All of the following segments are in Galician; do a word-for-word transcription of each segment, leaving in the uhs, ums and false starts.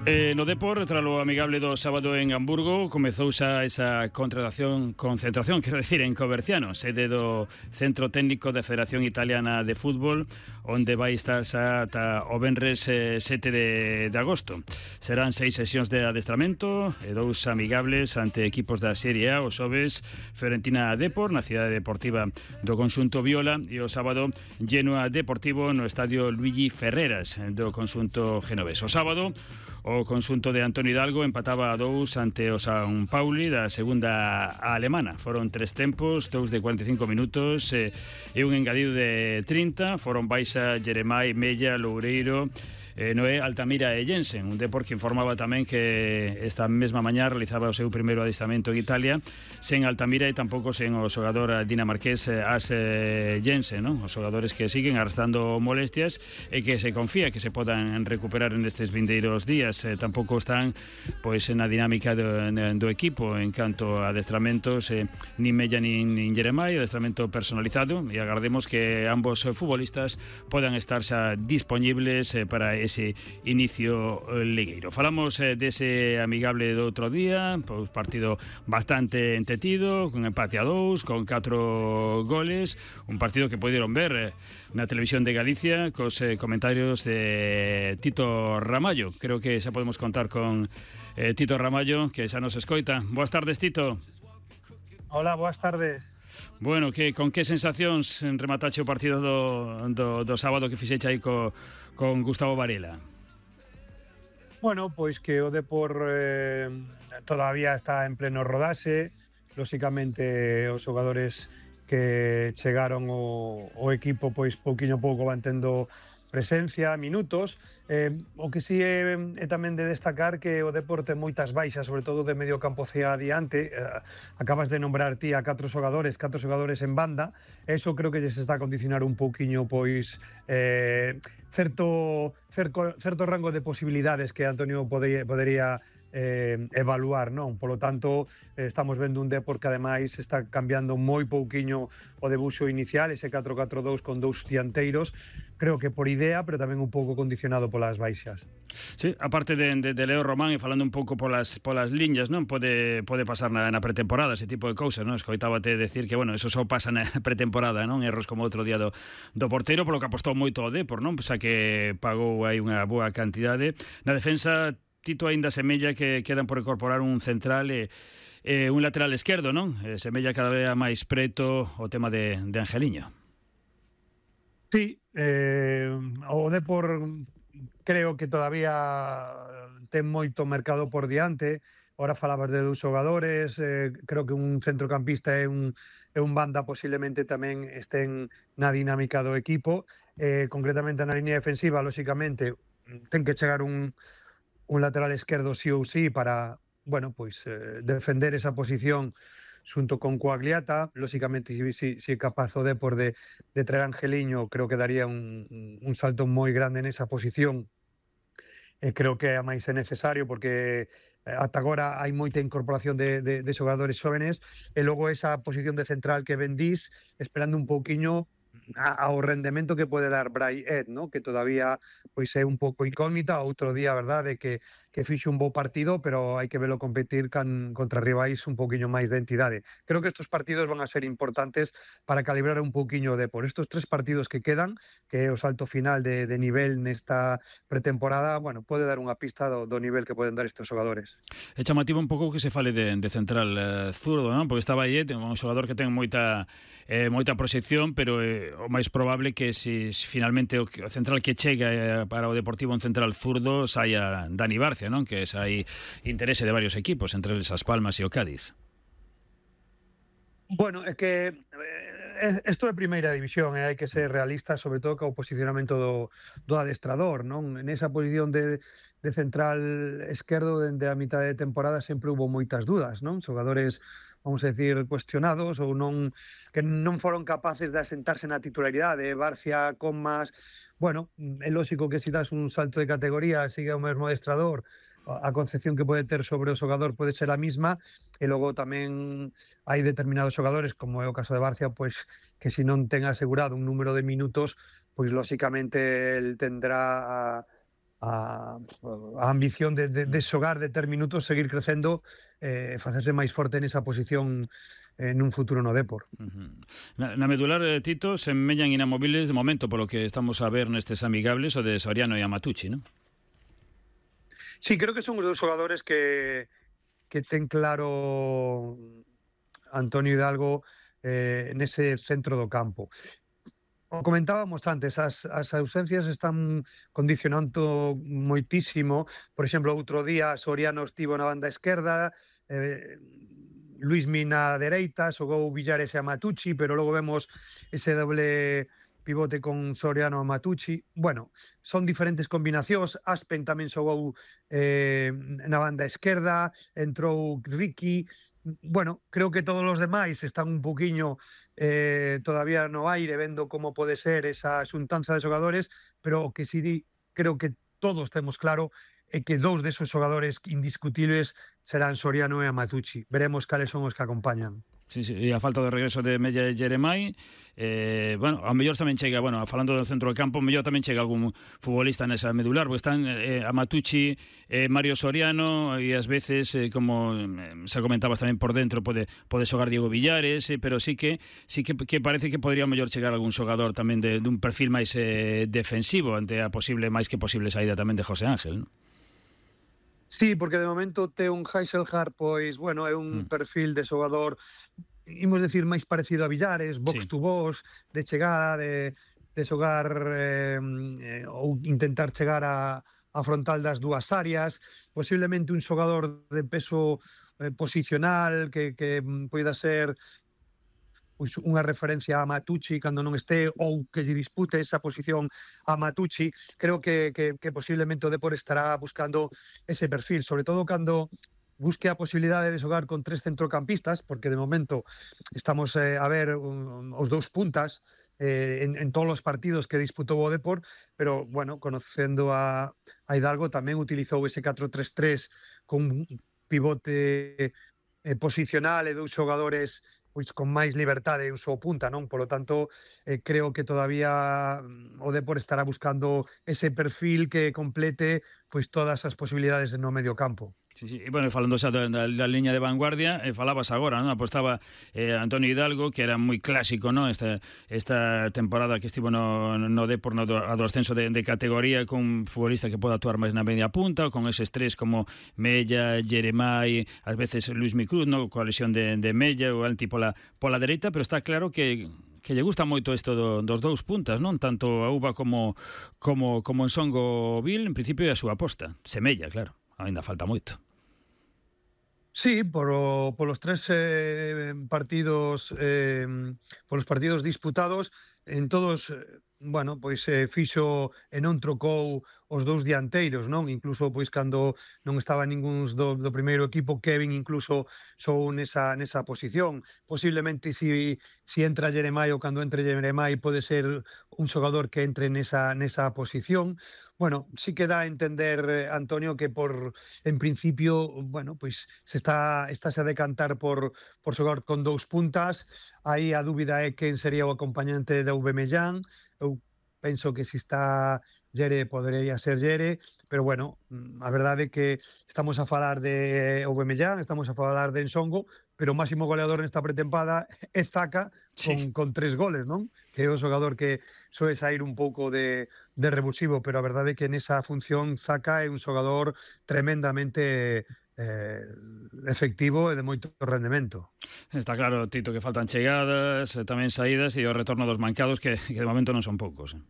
Eh, no Depor, tras lo amigable do sábado en Hamburgo, comezou xa esa contratación, concentración, quero decir, en Coverciano, sede do Centro Técnico da Federación Italiana de Fútbol, onde vai estar xa ata o venres eh, sete de, de agosto. Serán seis sesións de adestramento e dous amigables ante equipos da Serie A, os xoves Fiorentina Depor, na cidade deportiva do conxunto Viola, e o sábado Genoa Deportivo no estadio Luigi Ferreras do conxunto genovés. O sábado, o conxunto de Antonio Hidalgo empataba a dous ante o San Pauli da segunda alemana. Foron tres tempos, dous de cuarenta e cinco minutos e, e un engadido de trinta. Foron Baixa, Jeremai, Mella, Loureiro, eh, Noé, Altamira e Jensen. Un Depor que informaba tamén que esta mesma mañá realizaba o seu primeiro adestramento en Italia sen Altamira e tampouco sen o xogador dinamarqués As Jensen, non? Os xogadores que siguen arrastrando molestias e que se confía que se podan recuperar nestes vindeiros días. Eh, tampouco están pois na dinámica do, do equipo en canto a adestramentos, eh, nin Mella nin, nin Jeremai, adestramento personalizado, e agardemos que ambos futbolistas podan estar xa dispoñibles eh, para ese inicio ligueiro. Falamos eh, dese amigable do outro día, pois partido bastante entetido, con empate a dous, con catro goles, un partido que poderon ver eh, na televisión de Galicia cos eh, comentarios de Tito Ramallo. Creo que xa podemos contar con eh, Tito Ramallo, que xa nos escoita. Boas tardes, Tito. Hola, boas tardes. Bueno, que con que sensacións rematache o partido do, do, do sábado que fixeche aí co, con Gustavo Varela? Bueno, pois que o Depor eh, todavía está en pleno rodaxe. Lóxicamente os xogadores que chegaron o, o equipo pois pouquiño a pouco van tendo presencia, minutos. Eh, o que sí é, é tamén de destacar que o Depor ten moitas baixas, sobre todo de medio campo hacia adiante. Eh, acabas de nombrar ti a catro xogadores, catro xogadores en banda. Eso creo que se está a condicionar un pouquiño pois eh, certo, cerco, certo rango de posibilidades que Antonio podería, podería eh, evaluar, non? Polo tanto, eh, estamos vendo un Depor que ademais está cambiando moi pouquiño o debuxo inicial, ese catro catro dous con dous dianteiros, creo que por idea, pero tamén un pouco condicionado polas baixas. Sí, aparte de, de, de Leo Román, e falando un pouco polas, polas liñas, non? Pode, pode pasar na, na pretemporada ese tipo de cousas, non? Escoitábate decir que, bueno, eso só pasa na pretemporada, non? Erros como outro día do, do porteiro, polo que apostou moito o Depor, non? Xa que pagou aí unha boa cantidade. Na defensa, Tito, aínda semella que quedan por incorporar un central e eh, un lateral esquerdo, non? Eh, semella cada vez máis preto o tema de, de Angeliño. Sí, eh, o Depor creo que todavía ten moito mercado por diante. Ahora falabas de dous xogadores, eh, creo que un centrocampista e un, e un banda posiblemente tamén estén na dinámica do equipo. Eh, concretamente na liña defensiva, lóxicamente, ten que chegar un un lateral esquerdo sí ou sí para, bueno, pois eh, defender esa posición xunto con Coagliata. Lóxicamente, se si, si é capaz o Depor de, de traer Angeliño, creo que daría un, un salto moi grande nesa posición. E creo que a máis é necesario porque ata agora hai moita incorporación de, de, de xogadores xóvenes, e logo esa posición de central que vendís, esperando un pouquiño ao rendemento que pode dar Brai Ed, ¿no? Que todavía pois é un pouco incógnita. Outro día, a verdade, que, que fixe un bo partido, pero hai que velo competir can, contra rivais un pouquiño máis de entidade. Creo que estos partidos van a ser importantes para calibrar un pouquiño de por estos tres partidos que quedan, que é o salto final de, de nivel nesta pretemporada. Bueno, pode dar unha pista do, do nivel que poden dar estes xogadores. É chamativo un pouco que se fale de, de central eh, zurdo, non? Porque estaba aí, un xogador que ten moita eh, moita proxección, pero eh, o máis probable que se si, finalmente o, o central que chega eh, para o Deportivo, un central zurdo, saia Dani Barcia, non? Que é aí interese de varios equipos, entre eles As Palmas e o Cádiz. Bueno, é que isto é primeira división e hai que ser realista, sobre todo co posicionamento do, do adestrador, non? Nesa posición de, de central esquerdo, dende a mitad de temporada sempre hubo moitas dudas, non? Xogadores, vamos a decir, cuestionados ou non, que non foron capaces de asentarse na titularidade. Barcia, Comas, bueno, é lógico que se das un salto de categoría, sigue o mesmo adestrador, a concepción que pode ter sobre o xogador pode ser a mesma, e logo tamén hai determinados xogadores, como é o caso de Barcia, pois que se non ten asegurado un número de minutos, pois lóxicamente el tendrá a a, a ambición de, de, de xogar de ter minutos, seguir crecendo, eh, facerse máis forte nesa posición en un futuro no Depor. Uh-huh. Na, na medular, eh, Tito, se meñan inamovibles de momento, polo que estamos a ver nestes amigables, o de Soriano e Amatucci, non? Sí, creo que son os dos xogadores que, que ten claro Antonio Hidalgo eh, nese centro do campo. Como comentábamos antes, as, as ausencias están condicionando moitísimo. Por exemplo, outro día Soriano estivo na banda esquerda, eh, Luis Mina dereita, xogou Villares e Amatucci, pero logo vemos ese doble pivote con Soriano e Amatucci. Bueno, son diferentes combinacións. Aspen tamén xogou eh, na banda esquerda, entrou Ricky. Bueno, creo que todos os demais están un poquinho eh, todavía no aire, vendo como pode ser esa xuntanza de xogadores, pero o que si di, creo que todos temos claro é que dous desos xogadores indiscutibles serán Soriano e Amatucci. Veremos cales son os que acompañan. Sí, sí, e a falta de regreso de Mella e Jeremai, eh, bueno, ao mellor tamén chega, bueno, falando do centro de campo, ao mellor tamén chega algún futbolista nesa medular, porque están eh, Amatucci, eh, Mario Soriano, e ás veces, eh, como eh, se comentabas tamén por dentro, pode pode xogar Diego Villares, eh, pero sí que sí que, que parece que podría ao mellor chegar algún xogador tamén de, dun perfil máis eh, defensivo ante a posible, máis que posible saída tamén de José Ángel, non? Sí, porque de momento te un Heiselhard, pois, bueno, é un mm. perfil de xogador, imos decir, máis parecido a Villares, box sí. to box, de chegada, de, de xogar eh, eh, ou intentar chegar a, a frontal das dúas áreas, posiblemente un xogador de peso eh, posicional que, que poida ser pois unha referencia a Amatucci cando non este, ou que lle dispute esa posición a Amatucci. Creo que, que, que posiblemente o Depor estará buscando ese perfil, sobre todo cando busque a posibilidade de xogar con tres centrocampistas, porque de momento estamos eh, a ver um, os dous puntas eh, en, en todos os partidos que disputou o Depor, pero, bueno, conocendo a, a Hidalgo, tamén utilizou ese catro tres tres con un pivote eh, posicional e dous xogadores pois con máis liberdade e un só punta, non? Por lo tanto, eh, creo que todavía o Depor estará buscando ese perfil que complete pois todas as posibilidades no medio campo. Sí, sí, e, bueno, falando xa da, da, da liña de vanguardia, eh, falabas agora, non? Apostaba eh, Antonio Hidalgo, que era moi clásico, non? Esta, esta temporada que estivo no, no Depor, no do, a do ascenso de, de categoría, con un futbolista que pode actuar máis na media punta, con eses tres como Mella, Jeremai, ás veces Luis Micruz, non? Coa lesión de, de Mella, o Alti pola, pola dereita, pero está claro que que lle gusta moito isto do, dos dous puntas, non? Tanto a Uva como, como, como en Songo Vil, en principio, é a súa aposta. Semella, claro, ainda falta moito. Sí, por, por los tres eh, partidos eh, por los partidos disputados, en todos, bueno, pois eh, fixo e non trocou os dous dianteiros, non? Incluso pois cando non estaba ningún do, do primeiro equipo, Kevin incluso sou nesa nesa posición. Posiblemente si si entra Jeremai ou cando entre Jeremai pode ser un xogador que entre nesa nesa posición. Bueno, sí que dá a entender, Antonio, que por en principio, bueno, pois se está estáse a decantar por por xogar con dous puntas. Aí a dúbida é quen sería o acompañante de Aubameyang. Eu penso que se está Yere podería ser Yere, pero bueno, a verdade é que estamos a falar de Aubameyang, estamos a falar de Ensongo, pero o máximo goleador nesta pretempada é Zaka con, sí. con tres goles, non? Que é o xogador que soe sair un pouco de, de revulsivo, pero a verdade é que nesa función Zaka é un xogador tremendamente eh, efectivo e de moito rendemento. Está claro, Tito, que faltan chegadas, tamén saídas e o retorno dos mancados que, que de momento non son poucos. Eh?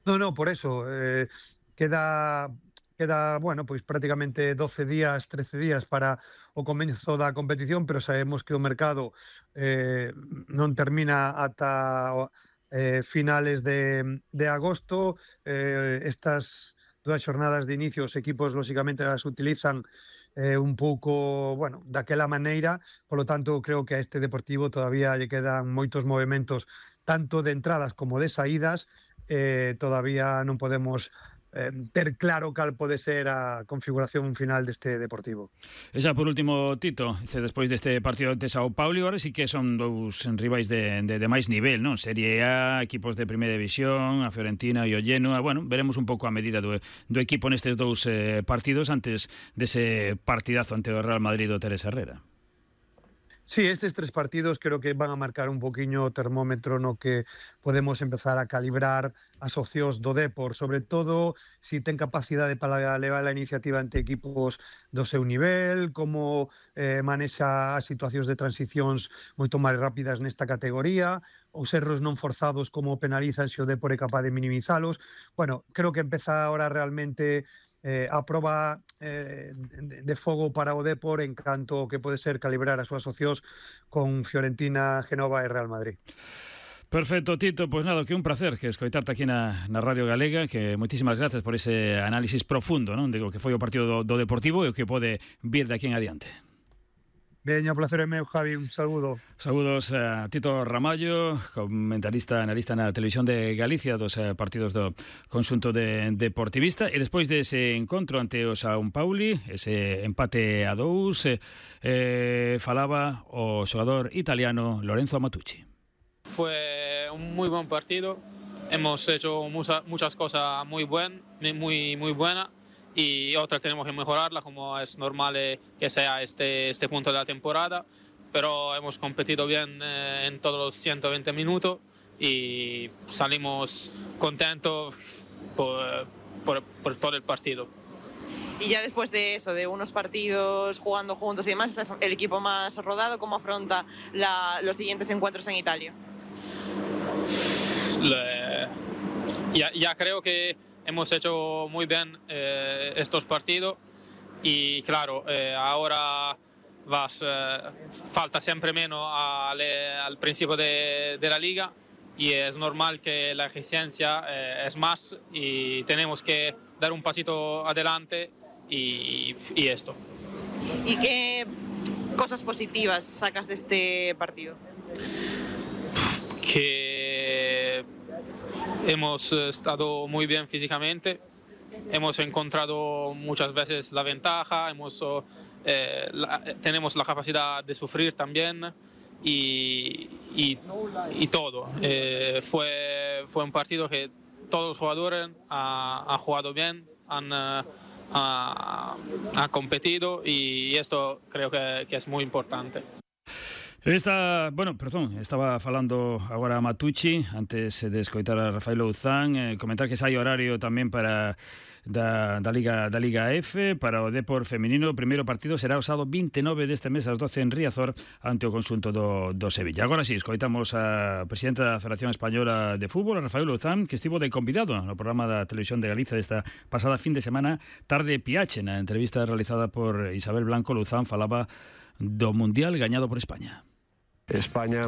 No, no, por eso eh, queda queda, bueno, pois prácticamente doce días, trece días para o comezo da competición, pero sabemos que o mercado eh, non termina ata eh, finales de, de agosto. Eh, estas dúas xornadas de inicio os equipos lógicamente as utilizan eh, un pouco, bueno, daquela maneira, polo tanto creo que a este Deportivo todavía lle quedan moitos movementos tanto de entradas como de saídas. Eh, todavía non podemos eh, ter claro cal pode ser a configuración final deste Deportivo. E xa por último, Tito, despois deste partido de Sao Paulo, agora sí que son dous rivais de, de, de máis nivel, non? Serie A, equipos de primeira división, a Fiorentina e o Genoa. Bueno, veremos un pouco a medida do, do equipo nestes dous eh, partidos antes dese partidazo ante o Real Madrid do Teresa Herrera. Sí, estes tres partidos creo que van a marcar un poquinho o termómetro no que podemos empezar a calibrar as opcións do Depor, sobre todo si ten capacidade para levar a iniciativa ante equipos do seu nivel, como eh, manexa as situacións de transicións moito máis rápidas nesta categoría, os erros non forzados como penalizan se o Depor é capaz de minimizalos. Bueno, creo que empeza ahora realmente Eh, a proba eh, de, de fogo para o Depor en canto que pode ser calibrar as súas opcións con Fiorentina, Genova e Real Madrid. Perfecto, Tito, pois pues nada, que un placer que escoitarte aquí na, na Radio Galega, que moitísimas gracias por ese análisis profundo, non, de o que foi o partido do, do Deportivo e o que pode vir de aquí en adiante. Veña, o placer é meu, Javi, un saludo. Saludos a Tito Ramallo, comentarista, analista na Televisión de Galicia dos partidos do conxunto de deportivista, e despois dese encontro ante o São Paulo, ese empate a dous, eh, falaba o xogador italiano Lorenzo Matucci. Fue un muy buen partido, hemos hecho mucha, muchas cosas muy, buen, muy, muy buenas, y otras tenemos que mejorarla, como es normal eh, que sea este, este punto de la temporada, pero hemos competido bien eh, en todos los ciento veinte minutos y salimos contentos por, por, por todo el partido. Y ya después de eso, de unos partidos jugando juntos y demás, ¿estás el equipo más rodado? ¿Cómo afronta la, los siguientes encuentros en Italia? Le, ya, ya creo que hemos hecho muy bien eh, estos partidos y claro, eh, ahora vas, eh, falta siempre menos al, al principio de, de la liga y es normal que la exigencia eh, es más y tenemos que dar un pasito adelante y, y esto. ¿Y qué cosas positivas sacas de este partido? Que hemos estado muy bien físicamente, hemos encontrado muchas veces la ventaja, hemos, eh, la, tenemos la capacidad de sufrir también y, y, y todo. Eh, fue, fue un partido que todos los jugadores han jugado bien, han, ha, ha competido y esto creo que, que es muy importante. Esta, bueno, perdón, estaba falando agora a Matucci antes de escoitar a Rafael Louzán, eh, comentar que sai horario tamén para da, da Liga da Liga F para o Depor feminino. O primeiro partido será o sábado veintinueve deste mes ás doce en Riazor ante o conxunto do, do Sevilla. Agora sí, escoitamos a presidenta da Federación Española de Fútbol, a Rafael Louzán, que estivo de convidado no programa da Televisión de Galicia desta pasada fin de semana, Tarde Piache. Na entrevista realizada por Isabel Blanco, Louzán falaba do Mundial gañado por España. España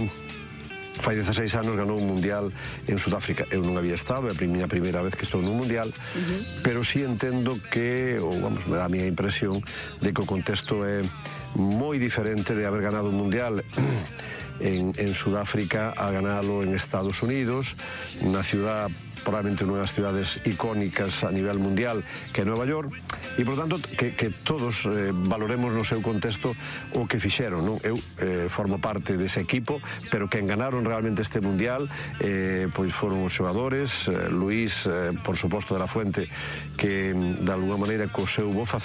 fai dezaseis anos ganou un Mundial en Sudáfrica. Eu non había estado, é a miña primeira vez que estou nun Mundial, uh-huh. pero sí entendo que, ou vamos, me dá a miña impresión de que o contexto é moi diferente de haber ganado un Mundial en, en Sudáfrica a ganalo en Estados Unidos, na ciudad probablemente unha das ciudades icónicas a nivel mundial que é Nueva York, e por tanto que, que todos eh, valoremos no seu contexto o que fixeron, non? Eu eh, formo parte dese equipo, pero quen ganaron realmente este mundial eh, pois foron os xogadores, eh, Luís, eh, por suposto de la Fuente, que de alguna maneira co seu bo facer